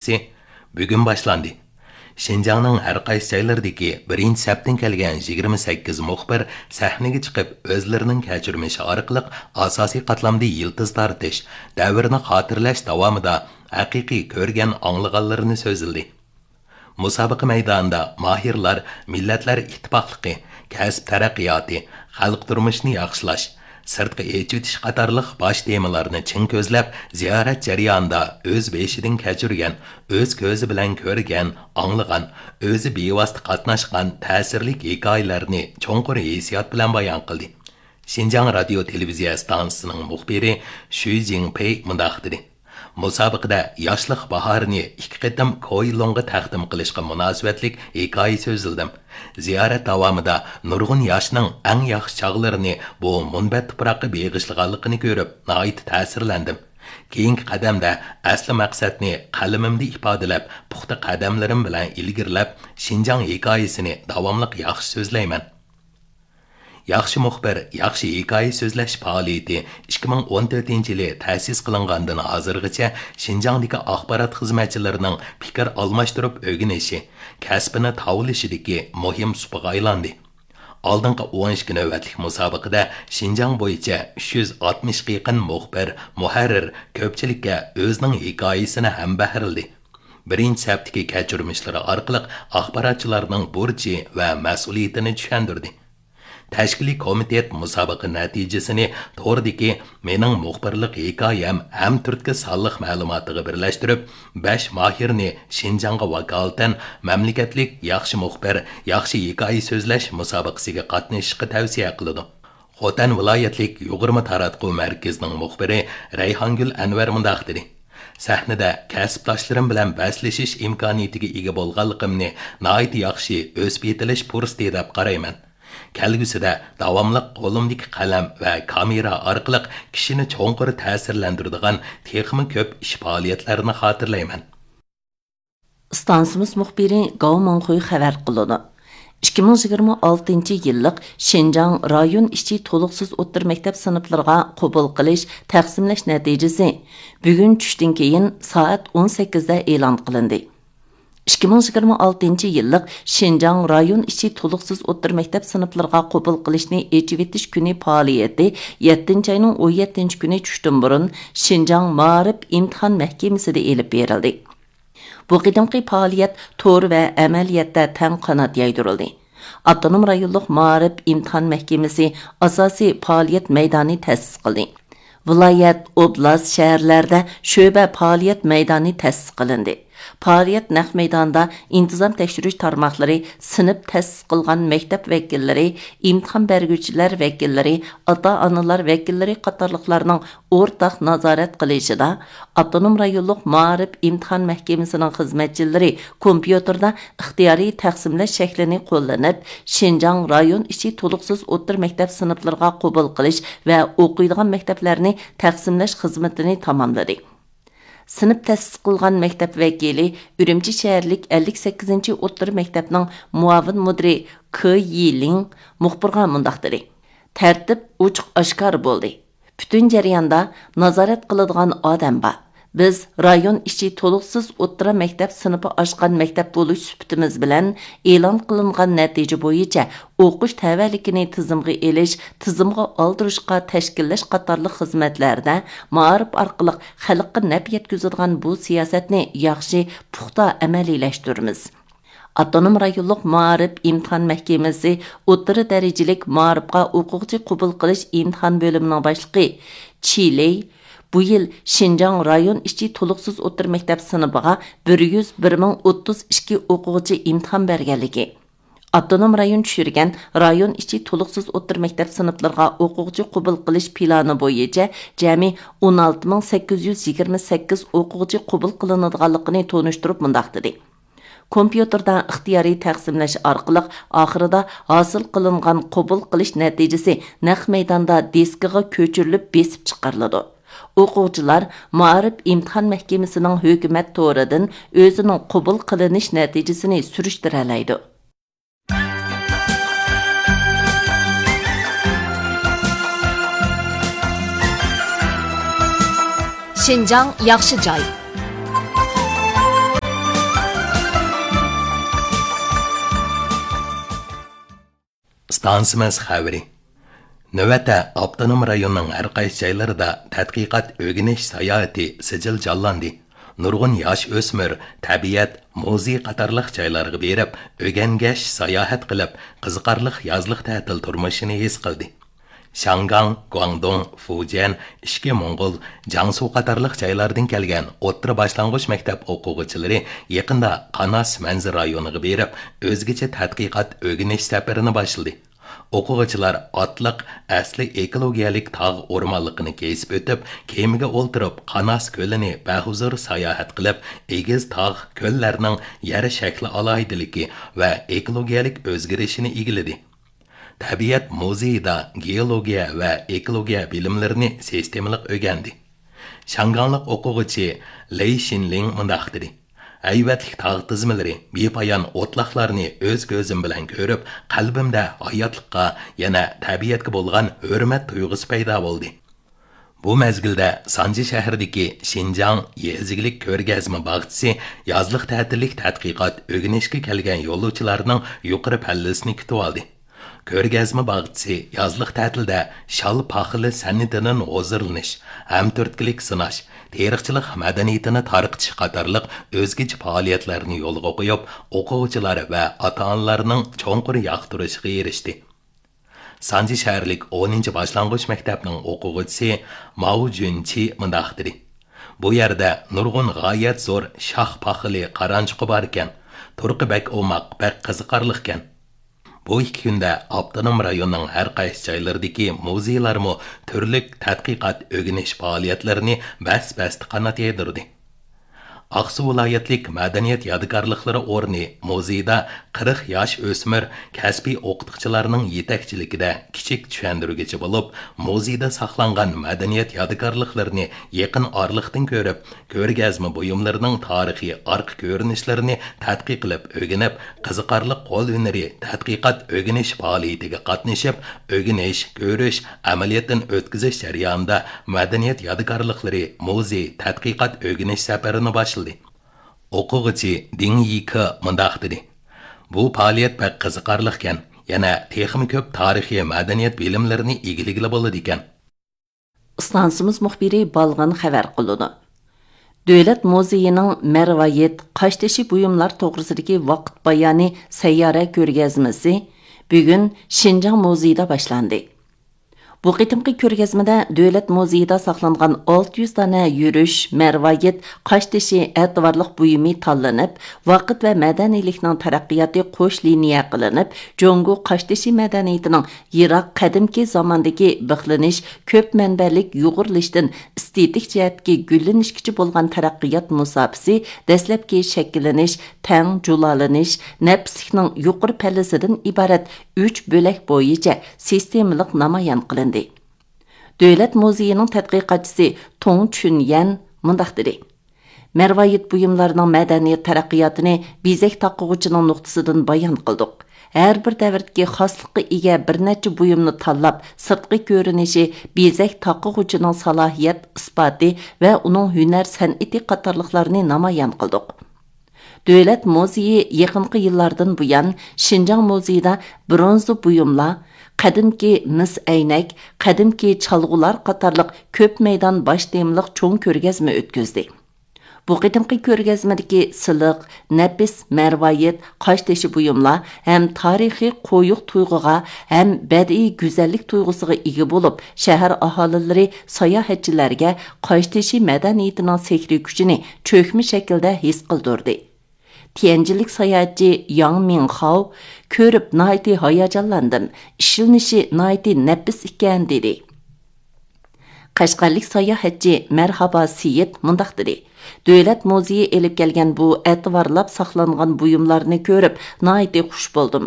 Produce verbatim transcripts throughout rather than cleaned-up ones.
بۈگۈن باشلاندى. شىنجاڭنىڭ ھەر قايسى جايلىرىدىكى بىرىنچى سەپتىن كەلگەن يىگىرمە سەككىز مۇخبىر سەھنىگە چىقىپ، ئۆزلىرىنىڭ كەچۈرمىشى ئارقىلىق ئاساسىي قاتلامدا يىلتىز تارتىش، دەۋرنى خاتىرىلەش داۋامىدا ھەقىقىي كۆرگەن، ئاڭلىغانلىرىنى سۆزلىدى. مۇسابىقە مەيدانىدا ماھىرلار مىللەتلەر ئىتتىپاقلىقى، كەسىپ تەرەققىياتى، خەلق تۇرمۇشىنى ياخشىلاش، سىرتقا ئېچىۋېتىش قاتارلىق باش تېمىلارنى چىڭ كۆزلەپ، زىيارەت جەريانىدا ئۆز بېشىدىن كەچۈرگەن، ئۆز كۆزى بىلەن كۆرگەن، ئاڭلىغان، ئۆزى بىۋاسىتە قاتناشقان تەسىرلىك ھېكايىلەرنى چوڭقۇر ھېسسىيات بىلەن بايان قىلدى. شىنجاڭ رادىيو تېلېۋىزىيە ئىستانسىسىنىڭ مۇخبىرى شۈي جىڭپېي مۇنداق دېدى: مۇسابىقىدە ياشلىق باھارىنى ئىككى قېتىم كوي لۇڭغا تەقدىم قىلىشقا مۇناسىۋەتلىك ھېكايە سۆزلىدىم. زىيارەت داۋامىدا نۇرغۇن ياشنىڭ ئەڭ ياخشى چاغلىرىنى بۇ مۇنبەت تۇپراققا بېغىشلىغانلىقىنى كۆرۈپ، ناھايىتى تەسىرلەندىم. كېيىنكى قەدەمدە ئەسلى مەقسەتنى قەلىمىمدە ئىپادىلەپ، پۇختا قەدەملىرىم بىلەن ئىلگىرىلەپ، شىنجاڭ ھېكايىسىنى داۋاملىق ياخشى سۆزلەيمەن. ياخشى مۇخبىر، ياخشى ھېكايە سۆزلەش پائالىيىتى ئىككى مىڭ ئون تۆتىنچى يىلى تەسىس قىلىنغاندىن ھازىرغىچە شىنجاڭدىكى ئاخبارات خىزمەتچىلىرىنىڭ پىكىر ئالماشتۇرۇپ ئۆگىنىشى، كەسپىنى تاۋلىشىدىكى مۇھىم سۇپىغا ئايلاندى. ئالدىنقى ئون ئىككى نۆۋەتلىك مۇسابىقىدە شىنجاڭ بويىچە ئۈچ يۈز ئاتمىشقا يېقىن مۇخبىر، مۇھەررىر كۆپچىلىككە ئۆزىنىڭ ھېكايىسىنى ھەمبەھىرلىدى. بىرىنچى سەپتىكى كەچۈرمىشلىرى ئارقىلىق ئاخباراتچىلارنىڭ بۇرچى ۋە مەسئۇلىيىتىنى چۈشەندۈردى. تەشكىلىي كومىتېت مۇسابىقە نەتىجىسىنى توردىكى مېنىڭ مۇخبىرلىق ھېكايەم ھەم تۈرتكە سانلىق مەلۇماتىغا بىرلەشتۈرۈپ، بەش ماھىرنى شىنجاڭغا ۋاكالىتەن مەملىكەتلىك ياخشى مۇخبىر، ياخشى ھېكايە سۆزلەش مۇسابىقىسىگە قاتنىشىشقا تەۋسىيە قىلىدۇ. خوتەن ۋىلايەتلىك يۇغۇرما تاراتقۇ مەركىزىنىڭ مۇخبىرى رەيھانگۈل ئەنۋەر مۇنداق دېدى: سەھنىدە كەسىپداشلىرىم بىلەن بەسلىشىش ئىمكانىيىتىگە ئىگە بولغانلىقىمنى ناھايىتى ياخشى ئۆسۈپ يېتىلىش پۇرسىتى دەپ قارايمەن. كەلگۈسىدە داۋاملىق قولۇمدىكى قەلەم ۋە كامېرا ئارقىلىق كىشىنى چوڭقۇر تەسىرلەندۈرىدىغان تېخىمۇ كۆپ ئىش پائالىيەتلەرنى خاتىرىلەيمەن. ئىستانسىمىز مۇخبىرى گاۋ مىڭخۇي خەۋەر قىلىدۇ. ئىككى مىڭ يىگىرمە ئالتىنچى يىللىق شىنجاڭ رايون ئىچى تولۇقسىز ئوتتۇرا مەكتەپ سىنىپلىرىغا قوبۇل قىلىش، تەقسىملەش نەتىجىسى بۈگۈن چۈشتىن كېيىن سائەت ئون سەككىزدە ئېلان قىلىندى. ئىككى مىڭ يىگىرمە ئالتىنچى يىللىق شىنجاڭ رايون ئىچى تولۇقسىز ئوتتۇرا مەكتەپ سىنىپلىرىغا قوبۇل قىلىشنى ئېچىۋېتىش كۈنى پائالىيىتى يەتتىنچى ئاينىڭ ئون يەتتىنچى كۈنى چۈشتىن بۇرۇن شىنجاڭ مائارىپ ئىمتىھان مەھكىمىسىدە ئېلىپ بېرىلدى. بۇ قېتىمقى پائالىيەت تور ۋە ئەمەلىيەتتە تەڭ قانات يايدۇرۇلدى. ئاپتونوم رايونلۇق مائارىپ ئىمتىھان مەھكىمىسى ئاساسىي پائالىيەت مەيدانى تەسىس قىلدى. ۋىلايەت، ئوبلاست، شەھەرلەردە شۆبە پائالىيەت مەيدانى تەسىس قىلىندى. پائالىيەت نەق مەيدانىدا ئىنتىزام تەكشۈرۈش تارماقلىرى، سىنىپ تەسىس قىلغان مەكتەپ ۋەكىللىرى، ئىمتىھان بەرگۈچىلەر ۋەكىللىرى، ئاتا-ئانىلار ۋەكىللىرى قاتارلىقلارنىڭ ئورتاق نازارەت قىلىشىدا، ئاپتونوم رايونلۇق مائارىپ ئىمتىھان مەھكىمىسىنىڭ خىزمەتچىلىرى كومپيۇتېردا ئىختىيارىي تەقسىملەش شەكلىنى قوللىنىپ، شىنجاڭ رايون ئىچى تولۇقسىز ئوتتۇرا مەكتەپ سىنىپلىرىغا قوبۇل قىلىش ۋە ئوقۇيدىغان مەكتەپلەرنى تەقسىملەش خىزمىتىنى تاماملىدى. سىنىپ تەسىس قىلغان مەكتەپ ۋەكىلى، ئۈرۈمچى شەھەرلىك ئەللىك سەككىزىنچى ئوتتۇرا مەكتەپنىڭ مۇئاۋىن مۇدىرى كې يىلىڭ مۇخبىرغا مۇنداق دېدى: تەرتىپ ئوچۇق ئاشكارا بولدى. پۈتۈن جەرياندا نازارەت قىلىدىغان ئادەم بار. بىز رايون ئىچى تولۇقسىز ئوتتۇرا مەكتەپ سىنىپى ئاچقان مەكتەپ بولۇش سۈپىتىمىز بىلەن ئېلان قىلىنغان نەتىجە بويىچە ئوقۇش تەۋەلىكىنى تىزىمغا ئېلىش، تىزىمغا ئالدۇرۇشقا تەشكىللەش قاتارلىق خىزمەتلەردە مائارىپ ئارقىلىق خەلققە نەپ يەتكۈزىدىغان بۇ سىياسەتنى ياخشى، پۇختا ئەمەلىيلەشتۈرىمىز. ئاپتونوم رايونلۇق مائارىپ ئىمتىھان مەھكىمىسى ئوتتۇرا دەرىجىلىك مائارىپقا ئوقۇغۇچى قوبۇل قىلىش ئىمتىھان بۆلۈمىنىڭ باشلىقى چى لېي بۇ يىل شىنجاڭ رايون ئىچى تولۇقسىز ئوتتۇرا مەكتەپ سىنىپىغا بىر يۈز بىر مىڭ ئوتتۇز ئىككى ئوقۇغۇچى ئىمتىھان بەرگەنلىكى، ئاپتونوم رايون چۈشۈرگەن رايون ئىچى تولۇقسىز ئوتتۇرا مەكتەپ سىنىپلىرىغا ئوقۇغۇچى قوبۇل قىلىش پىلانى بويىچە جەمئىي ئون ئالتە مىڭ سەككىز يۈز يىگىرمە سەككىز ئوقۇغۇچى قوبۇل قىلىنىدىغانلىقىنى تونۇشتۇرۇپ مۇنداق دېدى: كومپيۇتېردا ئىختىيارىي تەقسىملەش ئارقىلىق ئاخىرىدا ھاسىل قىلىنغان قوبۇل قىلىش نەتىجىسى نەق مەيداندا دىسكىغا كۆچۈرۈلۈپ بېسىپ چىقىرىلىدۇ. ئوقۇغۇچىلار مائارىپ ئىمتىھان مەھكىمىسىنىڭ ھۆكۈمەت تورىدىن ئۆزىنىڭ قوبۇل قىلىنىش نەتىجىسىنى سۈرۈشتۈرەلەيدۇ. شىنجاڭ ياخشى جاي. ئىستانسىمىز خەۋىرى. نۆۋەتتە ئاپتونوم رايوننىڭ ھەر قايسى جايلىرىدا تەتقىقات ئۆگىنىش ساياھىتى سىجىل جانلاندى. نۇرغۇن ياش ئۆسمۈر تەبىئەت، مۇزېي قاتارلىق جايلارغا بېرىپ، ئۆگەنگەچ ساياھەت قىلىپ، قىزىقارلىق يازلىق تەتىل تۇرمۇشىنى ھېس قىلدى. شياڭگاڭ، گۇاڭدۇڭ، فۇجيەن، ئىچكى موڭغۇل، جياڭسۇ قاتارلىق جايلاردىن كەلگەن ئوتتۇرا باشلانغۇچ مەكتەپ ئوقۇغۇچىلىرى يېقىندا قاناس مەنزىرە رايونىغا بېرىپ، ئۆزگىچە تەتقىقات ئۆگىنىش سەپىرىنى باشلىدى. ئوقۇغۇچىلار ئاتلىق ئەسلى ئېكولوگىيەلىك تاغ ئورمانلىقىنى كېسىپ ئۆتۈپ، كېمىگە ئولتۇرۇپ، قاناس كۆلىنى بەھۇزۇر ساياھەت قىلىپ، ئېگىز تاغ، كۆللەرنىڭ يەر شەكلى ئالاھىدىلىكى ۋە ئېكولوگىيەلىك ئۆزگىرىشىنى ئىگىلىدى. تەبىئەت مۇزېيىدا گېئولوگىيە ۋە ئېكولوگىيە بىلىملىرىنى سىستېمىلىق ئۆگەندى. شياڭگاڭلىق ئوقۇغۇچى لېي شىنلىڭ مۇنداق دېدى: ھەيۋەتلىك تاغ تىزمىلىرى، بىپايان ئوتلاقلارنى ئۆز كۆزۈم بىلەن كۆرۈپ، قەلبىمدە ھاياتلىققا، يەنە تەبىئەتكە بولغان ھۆرمەت تۇيغۇسى پەيدا بولدى. بۇ مەزگىلدە سانجى شەھىرىدىكى شىنجاڭ يېزا ئىگىلىك كۆرگەزمە باغچىسى يازلىق تەتىللىك تەتقىقات ئۆگىنىشكە كەلگەن يولۇچىلارنىڭ يۇقىرى پەللىسىنى كۈتۈۋالدى. كۆرگەزمە باغچىسى يازلىق تەتىلدە شال پاخىلى سەنئىتىدىن ھۇزۇرلىنىش، ھەمتۈرتكىلىك سىناش، تېرىقچىلىق مەدەنىيىتىنى تارقىتىش قاتارلىق ئۆزگىچە پائالىيەتلەرنى يولغا قويۇپ، ئوقۇغۇچىلار ۋە ئاتا-ئانىلارنىڭ چوڭقۇر ياقتۇرۇشىغا ئېرىشتى. سانجى شەھەرلىك ئونىنچى باشلانغۇچ مەكتەپنىڭ ئوقۇغۇچىسى ماۋۇ جۈنچى مۇنداق دېدى: بۇ يەردە نۇرغۇن غايەت زور شاخ پاخىلى قارانچۇقى باركەن. تۇرقى بەك ئوماق، بەك قىزىقارلىقكەن. بۇ ئىككى كۈندە ئاپتونوم رايوننىڭ ھەر قايسى جايلىرىدىكى مۇزېيلارمۇ تۈرلۈك تەتقىقات ئۆگىنىش پائالىيەتلىرىنى بەس-بەستە قانات يايدۇردى. ئاقسۇ ۋىلايەتلىك مەدەنىيەت يادىكارلىقلىرى ئورنى مۇزېيدا قىرىق ياش ئۆسمۈر كەسپىي ئوقۇتقۇچىلارنىڭ يېتەكچىلىكىدە كىچىك چۈشەندۈرگۈچى بولۇپ، مۇزېيدا ساقلانغان مەدەنىيەت يادىكارلىقلىرىنى يېقىن ئارىلىقتىن كۆرۈپ، كۆرگەزمە بۇيۇملىرىنىڭ تارىخىي ئارقا كۆرۈنۈشلىرىنى تەتقىق قىلىپ ئۆگىنىپ، قىزىقارلىق قول ھۈنىرى تەتقىقات ئۆگىنىش پائالىيىتىگە قاتنىشىپ، ئۆگىنىش، كۆرۈش، ئەمەلىيەتتىن ئۆتكۈزۈش جەريانىدا مەدەنىيەت يادىكارلىقلىرى مۇزېي تەتقىقات ئۆگىنىش سەپىرىنى باشلىدى. ئوقۇغۇچى دىڭ يىكې مۇنداق دېدى: بۇ پائالىيەت بەك قىزىقارلىقكەن، يەنە تېخىمۇ كۆپ تارىخىي مەدەنىيەت بىلىملىرىنى ئىگىلىگىلى بولىدىكەن. ئىستانسىمىز مۇخبىرى بالغىن خەۋەر قىلىدۇ. دۆلەت مۇزېيىنىڭ مەرۋايىت قاشتېشى بۇيۇملار توغرىسىدىكى ۋاقىت بايانى سەييارە كۆرگەزمىسى بۈگۈن شىنجاڭ مۇزېيىدا باشلاندى. بۇ قېتىمقى كۆرگەزمىدە دۆلەت مۇزېيىدا ساقلانغان ئالتە يۈز دانە يۈرۈش، مەرۋايىت، قاشتېشى ئەتىۋارلىق بۇيۇمى تاللىنىپ، ۋاقىت ۋە مەدەنىيلىكنىڭ تەرەققىياتى قوش لىنىيە قىلىنىپ، جۇڭگو قاشتېشى مەدەنىيىتىنىڭ يىراق قەدىمكى زاماندىكى بىخلىنىش، كۆپ مەنبەلىك يۇغۇرۇلۇشتىن ئېستېتىك جەھەتتىكى گۈللىنىشكىچە بولغان تەرەققىيات مۇساپىسى دەسلەپكى شەكىللىنىش، تەڭ جۇلالىنىش، نەپىسلىكنىڭ يۇقىرى پەللىسىدىن ئىبارەت ئۈچ بۆلەك بويىچە سىستېمىلىق نامايان قىلىندى. دۆلەت مۇزېيىنىڭ تەتقىقاتچىسى تۇڭ چۈنيەن مۇنداق دېدى: مەرۋايىت بۇيۇملارنىڭ مەدەنىيەت تەرەققىياتىنى بېزەك تاقىغۇچىنىڭ نۇقتىسىدىن بايان قىلدۇق. ھەر بىر دەۋردىكى خاسلىققا ئىگە بىر نەچچە بۇيۇمنى تاللاپ، سىرتقى كۆرۈنۈشى، بېزەك تاقىغۇچىنىڭ سالاھىيەت ئىسپاتى ۋە ئۇنىڭ ھۈنەر سەنئىتى قاتارلىقلارنى نامايان قىلدۇق. دۆلەت مۇزېيى يېقىنقى يىللاردىن بۇيان شىنجاڭ مۇزېيىدا برونزا بۇيۇملار، قەدىمكى مىس ئەينەك، قەدىمكى چالغۇلار قاتارلىق كۆپ مەيدان باش تېمىلىق چوڭ كۆرگەزمە ئۆتكۈزدى. بۇ قېتىمقى كۆرگەزمىدىكى سىلىق، نەپىس مەرۋايىت، قاشتېشى بۇيۇملار ھەم تارىخىي قويۇق تۇيغۇغا ھەم بەدىئىي گۈزەللىك تۇيغۇسىغا ئىگە بولۇپ، شەھەر ئاھالىلىرى، ساياھەتچىلەرگە قاشتېشى مەدەنىيىتىنىڭ سېھرىي كۈچىنى چۆكمە شەكىلدە ھېس قىلدۇردى. تيەنجىنلىك ساياھەتچى ياڭ مىڭخاۋ كۆرۈپ ناھايىتى ھاياجانلاندىم، ئىشلىنىشى ناھايىتى نەپىس ئىكەن، دېدى. قەشقەرلىك ساياھەتچى مەرھابا سېيىت مۇنداق دېدى: دۆلەت مۇزېيى ئېلىپ كەلگەن بۇ ئەتىۋارلاپ ساقلانغان بۇيۇملارنى كۆرۈپ ناھايىتى خۇش بولدۇم.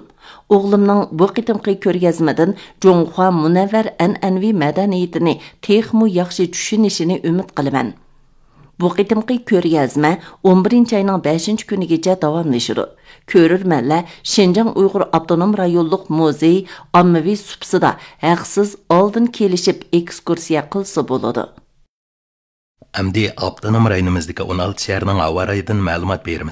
ئوغلۇمنىڭ بۇ قېتىمقى كۆرگەزمىدىن جۇڭخۇا مۇنەۋۋەر ئەنئەنىۋى مەدەنىيىتىنى تېخىمۇ ياخشى چۈشىنىشىنى ئۈمىد قىلىمەن. بۇ قېتىمقى كۆرگەزمە ئون بىرىنچى ئاينىڭ بەشىنچى كۈنىگىچە داۋاملىشىدۇ. كۆرۈرمەنلەر شىنجاڭ ئۇيغۇر ئاپتونوم رايونلۇق مۇزېي ئاممىۋى سۇپىسىدا ھەقسىز ئالدىن كېلىشىپ ئېكسكۇرسىيە قىلسا بولىدۇ. ئەمدى ئاپتونوم رايونىمىزدىكى ئون ئالتە شەھەرنىڭ ھاۋا رايىدىن مەلۇمات بېرىمىز.